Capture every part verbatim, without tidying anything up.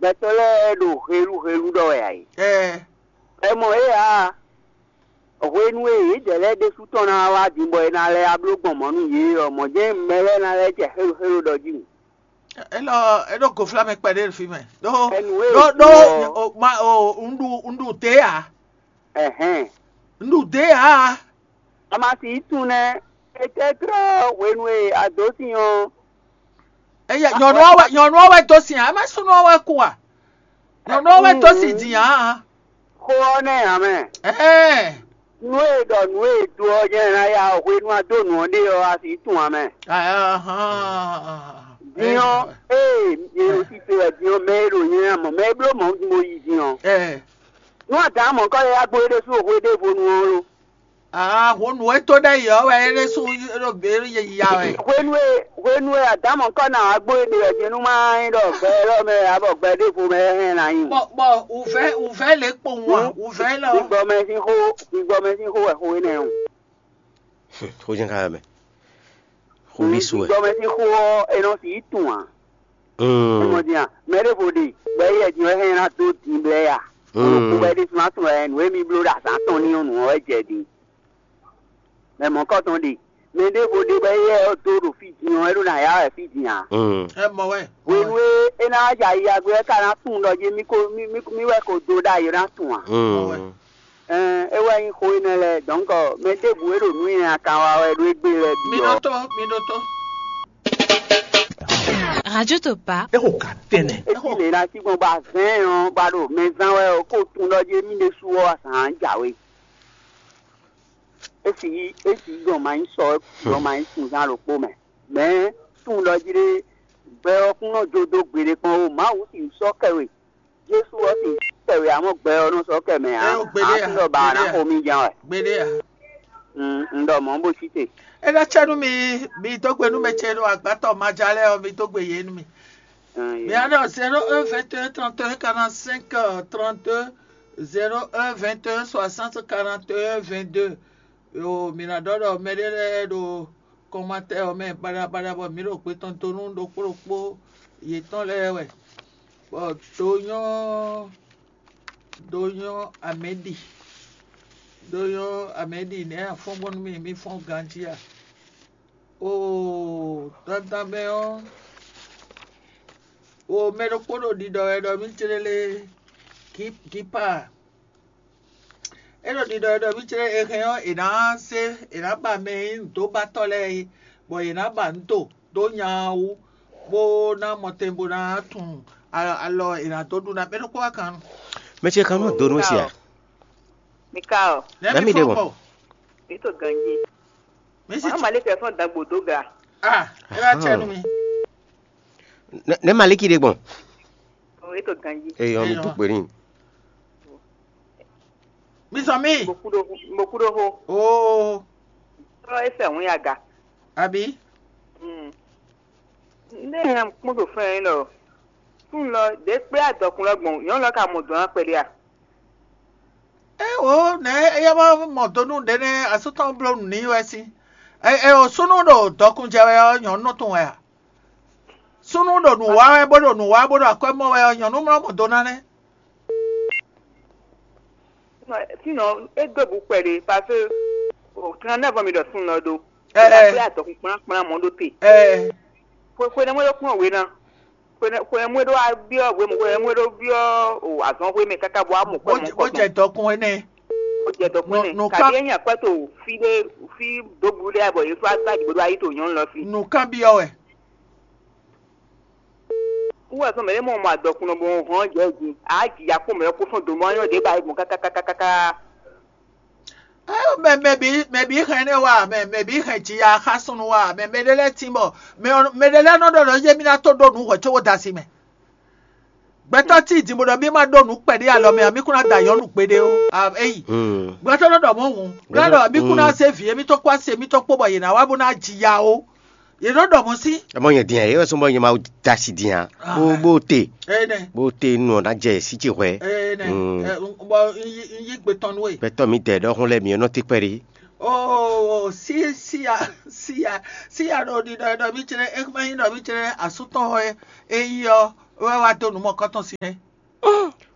Gbɛtɔ́ lɛ́ɛ ɖo helu helu ɖɔ wɛ ǎ é. Ɛ, Ɛ mɔ é ǎ. Hwenu e yědɛɛ lɛ́ɛ ɖésú tɔn ná wá din bɔ è ná lɛ́ wá bló gbɔn mɔ̌ nú yě ɔ́, mɔ̌ jɛ́n mɛ lɛ́ɛ ná lɛ́ jɛ xélo xélo ɖɔ jí wǔ. Élɔ́ é ɖo gofla mɛ kpɛɖé ɖo fí mɛ. Ɖó Ɛnu e ɖó ɖó ɖo ɔ́. O, ma o un ɖu un ɖu dě ǎ. Ɛhɛn. Un ɖu dě ǎ. A ma si yi tunwun nɛ́. Etɛ́tlɔ́ hwenu e a dǒ sin ɔ́. Eye nyɔ̌nu ɔ́ wɛ nyɔ̌nu ɔ́ wɛ dó sin ǎ, é má súnnu ɔ́ wɛ kú a? Nyɔ̌nu ɔ́ wɛ dó sin din ǎ. Xó ɔ́ nɛ́ ǎ mɛ. Ɛɛ. Nú e ɖɔ nǔ e do ɔ́ jɛ́n ná ya hwenu a dó nǔ ɔ́ ɖe ɔ́, a sixú tunwun ǎ mɛ. Ahán. Din ɔ́, ee, nyɛ ɖo sise wɛ din ɔ́, mɛ e ɖo nyɛ ná mɔ, mɛ e bló mɔ̌ mo yi din ɔ́. Ɛ. Nú a dǎn mɔ̌ kɔ lɛ́ yá gbo é ɖésú o hwe ɖěvo nu ɔ́ lo. Aa, hǔn nǔ e tó ɖɛ yi ɔ́ wɛ é ɖésú ɖo gbě ya wɛ. Hwenu e hwenu e Adamu kɔ ná wá gbo éɖe ɔ́, jɛnú má nyí ɖɔ gbɛ élɔ́ mɛ ǎ bɔ gbɛ ɖěvo mɛ é hɛn ná nyí. Bɔ bɔ wǔvɛ́ wǔvɛ́ lě kpowun a? Wǔvɛ́ lɔ. Gbígbɔmɛ sín xó gbígbɔmɛ sín xó wɛ xó énɛ́ ɔ́. Xó jɛ́n ká wɛ mɛ. Xó ɖésú wɛ. Gbígbɔmɛ sín xó ɔ́, è nɔ sixú tunwun ǎ. Mɔ din a? Mɛ ɖěvo ɖe, bɔ éyɛ́ din ɔ́ hɛn ná dó din blɛ́ ya. Olùkú wɛ ɖésú ná tunwun wɛ nǔ e mi bló ɖo azǎn tɔn ní ɔ́ nǔ ɔ́ wɛ jɛ din. Mɛ mɔ̌kɔtɔn ɖe, mɛ ɖěvo ɖe bɔ éyɛ́ ɔ́ dó ɖo fí din ɔ́, é ɖó ná yá wɛ fí din ǎ. Ɛ mɔ wɛ. Hwenu e é ná wá jɛ ayiya gbe ɔ́, é ka ná tunwun ɖɔ jí mì ko mì mì mì wɛ ko dó ɖ'ayǐ ɔ́ ná tunwun ǎ. Ɛn, é wɛ nyí xó énɛ́ lɛ́ɛ, dɔ̌nkɔ mɛ ɖěbǔ e ɖo nǔ nyanya kan wa wɛ ɖó égbé lɛ́ɛ bǐ Mi ɔ́. Ɖótó, mi ɖótó. Radio Topa. É xo gǎ tɛnɛ. É cí lě ná cí gbɔn bɔ azɛ̌n ɔ́ ba ɖo mɛ zán wɛ ɔ́, kó tun ɖɔ jí émí ɖésú ɔ́ azǎn jǎwe. É sì yí é sì yí gbɔn ma nyí sɔ gbɔn ma nyí sunzán ɖokpó mɛ. Mɛ̌ tun ɖɔ jí ɖé gbɛ ɔ́ kún nɔ jó dó gbeɖé kpɔ́n ó, Mawu sì sɔ́ kɛ we. Jesu ɔ́ sì kɛ wě ǎ mɔ gbɛ ɔ́ nɔ sɔ́ kɛ mɛ ǎ. Ɛ o, gbeɖé ǎ, Aklúnɔ ba ná gbeɖé ǎ. Xo mì jɛ́n wɛ. Gbeɖé ǎ. Un un ɖɔ mɔ̌ bó sí te. É ná cɛ nú mi, mi dó gbe nú mɛ ce ɖo agbátɔ maja lɛ́ɛ ɔ́, mi dó gbe yě nú mi. Un, Mi yě. Ánɔ zéro un vingt et un trente et un quarante-cinq trente-deux, zéro un vingt et un soixante quarante et un vingt-deux. Yo, mi ná ɖɔ ɖɔ mɛɖé lɛ́ɛ ɖo kɔmatɛ ɔ́ mɛ baɖabaɖa bɔ mǐ ɖo gbe tɔn dó nú ɖokpó ɖokpó yětɔn lɛ́ɛ wɛ. Bɔ do nyɔ́ do nyɔ́ amɛ̌ ɖi do nyɔ́ amɛ̌ ɖi nɛ̌ a fɔ́n gbɔn nú mì mì fɔ́n ganjí a? Oo, dandan mɛ ɔ́, wo mɛ ɖokpó ɖo ɖiɖɔ wɛ ɖɔ mì jlé lé gípa. É ɖo ɖiɖɔ wɛ ɖɔ mì jlé e hɛn ɔ́, è nǎ zé è nǎ ba mɛ e nyí nǔdóbatɔ́ lɛ́ɛ é, bɔ yě ná ba nǔ do dó nya ɔ́ wú, bó ná mɔ tɛn bó ná tunwun a- alɔ è nǎ dó ɖu ná mɛ ɖokpó wá kan. Mɛ ce kan nɔ do nú si a? Mi ka ɔ? Nɛ̌ Nɛ̌ mi mi ɖe fɔ́n mɔ? Gbɔ? Mi to ganji. Mi si Mama le kɛ fɔn dagbo do ga. Ah, é wá cɛ nú mi. Nɛ̌ Maliki ɖe gbɔn? O e to ganji. Eyɔ mi Eyɔ. Tó kpé ní. Mi sɔ mi. Mo kuɖo mo kuɖo ho. Oo. Tɔ e fɛ hun ya ga. Abi. Mm. Ne ya kpɔn to fɛn lɔ. Tun lɔ de kpe adɔkun lɔ gbɔn. Nyɔnu lɔ ka mɔ dɔn akpɛli a? Eo nɛ eya ma mɔ do nú ɖe nɛ asútɔ bló nǔ n'i wɛ sín. Eo súnnu ɖo dɔkun jɛ wɛ ɔ́, nyɔ̌nu nɔ tɔn wɛ a? Súnnu ɖo nǔ wa wɛ bó ɖo nǔ wa bó ɖo akwɛ́ mɔ wɛ ɔ́, nyɔ̌nu mlɔ́ mɔ do ná nɛ́. Sinon, é dó bǔ kpɛɖé, parce que o trente-neuf ans mi ɖɔ súnnu lɔ ɖó. Ɛ, ɛ. Ɛ, adɔkun kplán kplán mɔ ɖó te. Ɛ. Xwe xwe nɛmɛ ɖó kplɔ́n wě ná. Xwe nɛ xwe nɛmɛ ɖó wá byɔ́ wě mɔ xwe nɛmɛ ɖó byɔ́ o azɔn xwe mɛ káká bɔ amɔ Bó kwɛ mɔ jẹ- bó kɔtɔn. Jẹ dɔkun énɛ́. Ó jẹ dɔkun Nù- nɛ́. Nù Kabi kan- é nya kwɛ to fí ɖé fí dó blu ɖé bɔ yě fá gbá jǐ bó ɖó ayé to nyɔ̌nu lɔ fí. Nù kan byɔ́ wɛ. Wú wɛ sɔn mɛ ɖé mɔ mɔ adɔkun nɔ bɔ hɔn jɛ jí. A jǐ ya kpɔn mɛ ɔ́ kó sɔn dǒ mɔ anyɔ ɖě ba yi gbɔn kákákákáká. Mɛ mɛ bǐ mɛ bǐ hɛn énɛ́ wa, mɛ mɛ bǐ hɛn jiya xá súnnu wa, mɛ mɛ ɖé lɛ́ɛ tín bɔ mɛ ɔ́- mɛ ɖé lɛ́ɛ nɔ ɖɔ ɖɔ yé mí ná tó ɖó nǔ hwɛ̌ có wó da asi mɛ. Gbɛtɔ́ tí din bó ɖɔ mí ma ɖó nǔ kpɛɖé alɔ mɛ ɔ́, mí kún ná da nyɔ̌nu gbeɖé ó. A- Eyi. Gbɛtɔ́ nɔ ɖɔ mɔ̌ hǔn, gbɛtɔ́ ɖɔ mí kún ná zé vǐ émítɔn kpó asi émítɔn kpó bɔ yě ná wá bó ná jiya ó. Yě nɔ ɖɔ mɔ̌ sí. Ɛ mɔ nyɛ din ɛ, é wɛ sɔn bɔ nyɛ ma da asi din a. Bó bó te. Eye nɛ. Bó te nɔ ná jɛ sí ci hwɛ. Eye nɛ. Mm. Ɛ, n- bɔ n yi n yi gbe tɔn nú we. Gbɛtɔ mi dɛ ɖɔhun lɛ mi nɔ te kpɛɖi. Oo, si sia sia sia ɖo ɖiɖɔ ɖɔ mí tsrɛ, é má nyí ɖɔ mí tsrɛ asútɔn wɛ é yi ɔ́. wɛ wá dó nǔ mɔkɔ́tɔn sin ɛ.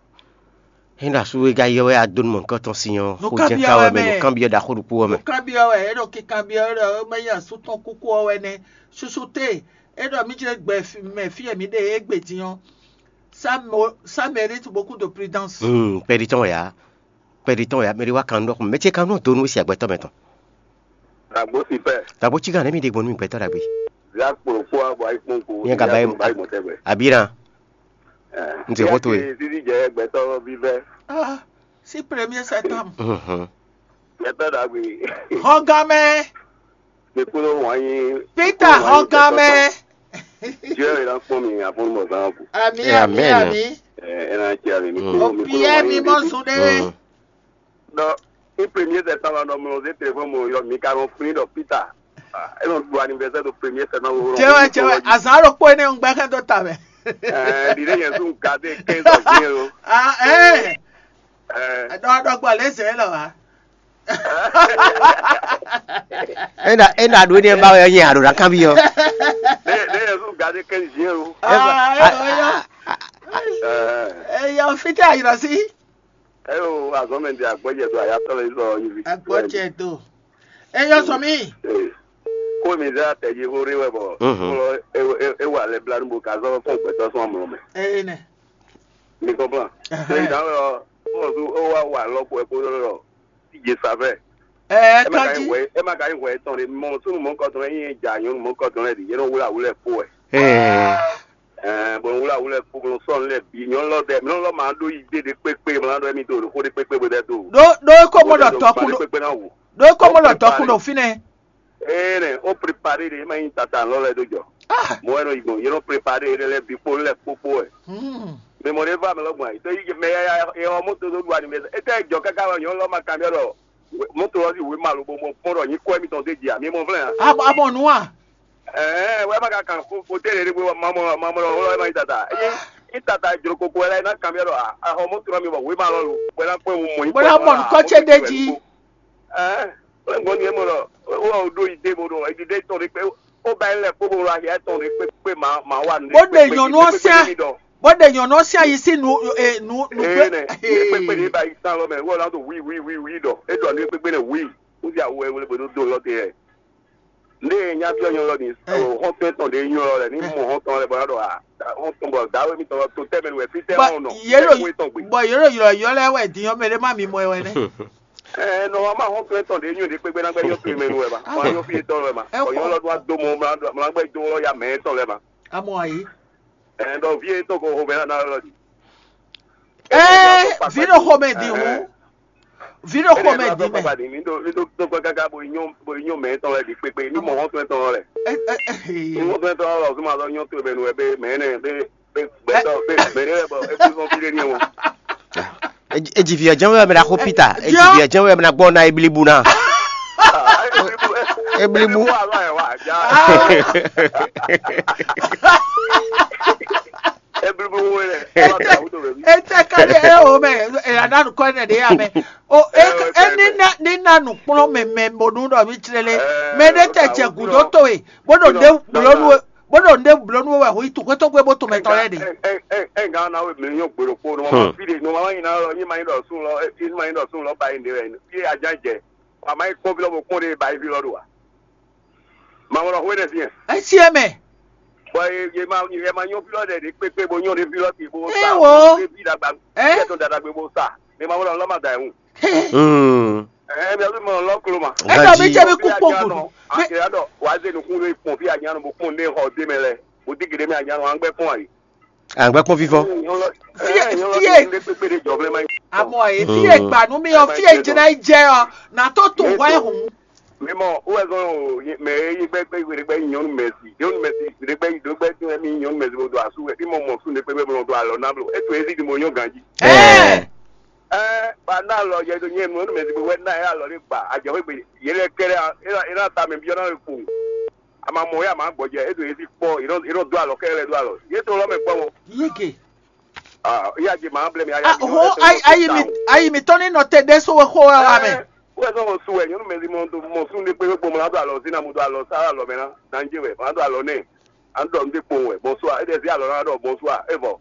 Ényí ɖo asú e ka yɔ wɛ adó nú mɔ̌hunkɔtɔn sin ɔ́, xó jɛ́n ka wɛ mɛ, nǔkanbyɔ́ ɖaxó ɖokpó wɛ mɛ. Nǔkanbyɔ́ wɛ é ɖo kinkanbyɔ́ ɖɔ é mɛ nyí asú tɔn kúkú ɔ́ wɛ nɛ́. Susu te é ɖɔ mí jlɛ́ gbɛ mɛ fí e mǐ ɖe égbé din ɔ́, ça mérite beaucoup de prudence. Kpɛɖi tɔn wɛ ǎ. Kpɛɖi tɔn wɛ ǎ. Mɛ ɖé wá kan nú ɖɔkun mɛ ce kan nú dó nú we si agbɛtɔ́ mɛ tɔn. Dàgbò sí pẹ́. Dàgbò cí gǎn nɛ́ mi ɖe gbɔn nú mi gbɛtɔ́ ɖagbe. Zia kpòlòkpó abɔ ayikpɔ́nko. Nyɛ ka ba yi mɔ tɛgbɛ. Abira. N ti xó to e. Sisi jɛ gbɛtɔ́ vívɛ. Ah, si premier septembre. Mhm. Gbɛtɔ́ ɖagbe. Hɔngamɛ. Mi kúrò wọ́n yín. Peter Hɔngamɛ. Dieu est là pour nous, à fond de mon sang. Ami, ami, ami. Ɛ ɛ na cɛ ali mi kúrò mi kúrò wọ́n yín. Opiɛ mi mɔ zun ɖe. Ɖɔ ní premier septembre nɔ mlɔ zé telefɔni mɔ yɔ mi ka nɔ flin ɖɔ Peter. E nɔ ɖu anniversaire ɖo premier septembre. Cɛwɛ cɛwɛ azan ɖokpó énɛ́ ń gbɛ́ xɛ́ dó ta mɛ. Ɛɛ ɖiɖe yẹn sún gade quinze avril o. Ah ɛɛ. Ɛɛ. Ɖɔ ɖɔ gbɔ lé zɛ lɔ wa. Ena ena ɖo ne ba wɛ nyɛ aɖo ɖa kan bi yɔ. Ɖe ɖe yẹn sún gade quinze juin o. Ah ɛɛ. Ɛɛ. Eyɔ fitɛ ayirɔ si. Eyo azɔn mɛ di agbɔjɛ do ayatɔ le sɔ yi vi. Agbɔjɛ do. Eyɔ sɔ mi. Ko mi zɛ atɛji xo ɖe wɛ bɔ. Kplɔ ewa lɛ bla nu bo ka zɔ fún gbɛtɔ sɔn amlɔ mɛ. Eye nɛ. Mi kɔnplan. Eyi dan wɛ ɔ fún ɔsu o wa wa lɔ ko ɛ ko lɔ lɔ. Ti je savɛ. Ɛ ɛ ma ka kanji. Yi hwɛ ɛ ma ka yi hwɛ etɔn de mɔ sunu mɔ kɔtɔn ɛ yin ja nyɔnu mɔ kɔtɔn ɛ di yɛ nɔ wula wulɛ kpo ɛ. Ɛɛ. Ɛɛ bɔn wula wulɛ kpo bɔn sɔn lɛ bi nyɔnu lɔ dɛ mɛ lɔ ma ɖo yi de de kpekpe mɛ lɔ mi do xo de kpekpe bo dɛ do. Ɖó ɖó é kó mɔ ɖɔ tɔkun ɖo kpekpe na wu. Ɖó é kó mɔ ɖɔ tɔkun ɖo fínɛ́. Ee nɛ o prepare de ma yin tata lɔ lɛ do jɔ. Mo wɛ nɔ yi gbɔn yɛ nɔ prepare de lɛ bi kpo lɛ kpokpo ɛ. Mɛ mɔ ɖe va mɛ lɔ gbɔn ayi tɔ yi mɛ ya ya yɛ wɔ moto do do ani mɛ etɛ jɔ kaka wɛ nyɔnu lɔ ma kan ɖɔ moto lɔ si wema lo bo mɔ kpɔn ɖɔ nyi kɔ mitɔn de dzi ami mɔ vlɛ a. Abɔ nu a. Ɛɛ wɛ ma ka kan ko ko tɛ ɖe ɖe ma mɔ ma mɔ lɔ wɛ ma yi tata eye yi tata jlo koko wɛ la yi na kan mi ɖɔ a xɔ moto lɔ mi bɔ wema lɔ lo wɛ na kpɔn mo yi. Bɔn na mɔ nukɔ ce de dzi. Ɛɛ wɛ gbɔn ni e mɔ lɔ wɛ o ɖo yi de bo ɖo edi de tɔn ɖe kpe o ba yi lɛ kpo bo ɖo ahi etɔn ɖe kpe kpe ma ma wa nu. Bó ɖe nyɔnu ɔ sɛn bó ɖe nyɔnu ɔ sɛn ayi sí nu e nu nu. Ee nɛ ní kpekpe ní ba yi sán lɔ mɛ wɔ la do wi wi wi wi ɖɔ e ɖɔ ní kpekpe nɛ wi wúzi awu ɛ wle gbɛdó do lɔ te yɛ. Ndé nya byɔ́ nyɔ lɔ ní xɔ́ntɔn tɔn ɖé nyɔ lɔ lɛ ní mɔ xɔ́ntɔn lɛ bɔ ná ɖɔ a xɔ́ntɔn bɔ dǎwe mitɔn lɔ to tɛmɛ wɛ fítɛ́ Bɔ ɔn nɔ yě ɖo tɛkún etɔn gbe. Bɔ yě ɖo ylɔ̌ylɔ́ lɛ́ɛ wɛ din ɔ́, mɛ ɖé má mi mɔ ɛ wɛ nɛ́. Ɛ nɔ wa ma xɔ́ntɔn etɔn ɖé nyɔ ɖé kpékpé ná gbɛ nyɔ to mɛ nu wɛ ma. Wọ́n á nyɔ fí etɔn lɛ ma. Ɛ Bɔ nyɔ lɔ ɖó adó mɔ mlá gbɛ dó lɔ ya mɛ etɔn lɛ ma. A mɔ ayǐ. Ɛ ɖɔ ví etɔn ko xomɛ ná ná lɔ di. Ee, vǐ ɖo xomɛ din hǔn. Vǐ ɖo xomɛ din mɛ. Ní ɖó ní ɖó tó gbɛ káká bo nyɔ bo nyɔ mɛ tɔn lɛ di kpékpé ní mɔ hɔn tɔn tɔn lɛ. Ní hɔn tɔn tɔn lɛ ɔsùn ma lɔ nyɔ tó bɛ nu wɛ bɛ mɛ nɛ bɛ bɛ gbɛtɔ bɛ mɛ nɛ bɔ eku sɔn fi ɖe ní ɛwɔ. Eji fi ɔjɔn wɛ mɛ na xo Peter. Eji fi ɔjɔn wɛ mɛ na gbɔ na eblibu na. Eblibu. Etɛ ka ɖe eo mɛ eya na nukɔ ne ɖe ya mɛ. O e e ni na ni na nukplɔn mɛ mɛ bonu ɖɔ mi tle le. Mɛ ɖe tɛ jɛ gudo to e bo ɖo nde gblɔ nu bó ɖo nde gblɔ nu wɛ ho yi tu xwétɔ́ gbé bó to mɛ tɔn lɛ ɖe. Ɛ ɛ ɛ ŋa na we mi nyɔ gbolo kpo nɔ ma fi de nɔ ma yi na lɔ nyi ma yi ɖɔ sun lɔ nyi ma yi ɖɔ sun lɔ ba yi nde wɛ fi ajan jɛ wa ma yi kpɔn fi lɔ bo kpɔn de ba yi fi lɔ do wa. Mawlɔ xwe ɖe fiɛ. Esi eme. Bɔ ye ma ye ma nyɔ fi lɔ ɖe ɖe kpekpe bo nyɔ ɖe fi lɔ ti bo sa. Ewo. Ɖe fi dagba. Ɛ. Kɛtɔ dadagbe bo sa. Ne mawlɔ lɔ ma da ehun. Hmm. Ɛ mi alu mɔ lɔ klo ma. Ɛ tɔ mi tse mi kú kpó gbòdò. Akira dɔ wa ze nukun ɖe kpɔn fi anyanu bo kpɔn ne xɔ de mɛ lɛ. Bo di gede mɛ anyanu an gbɛ kpɔn ayi. An gbɛ kpɔn fifɔ. Fie fie. Amɔ ye fie gbanu mi ɔ fie jɛnɛ jɛ ɔ na to to hɔ ehun. Mímɔ wowɛzɔn o mɛ e yi gbɛ gbɛ yi ɖe gbɛ yi nyɔnu mɛsi nyɔnu mɛsi ɖe gbɛ yi ɖo gbɛ tún ɛmi nyɔnu mɛsi bo do asu wɛ mímɔ mɔ sun ɖe gbɛ gbɛ bo nɔ do alɔ na blo eto ezi di mo nyɔ ganji. Ɛɛ. Ɛɛ ba na alɔ yɛ do nyɛ nyɔnu mɛsi bo wɛ na yɛ alɔ ɖe gba adzɔ xɔ egbe yɛ lɛ kɛlɛ ena ta mɛ biɔ na wɛ kpo ama mɔ ya ma gbɔjɛ eto ezi kpɔ yɛ nɔ do alɔ kɛlɛ do alɔ yɛ to lɔ mɛ kpɔ mɔ. Yeke. Ah, ya je ma blɛ mi aya. Ah, ho ayi ayi mi ayi mi tɔn ni nɔ te ɖe so we xo wa wa mɛ. Wɛ sɔ su wɛ nyɔnu mɛ di mɔ do mɔ sun de kpe kpe mɔ la do alɔ zina mo do alɔ sa alɔ mɛ na danje wɛ ma do alɔ nɛ. An ɖɔ nú ɖé kpowun wɛ, bonsoir. É ɖe zé alɔ ná ɖɔ bonsoir. É vɔ.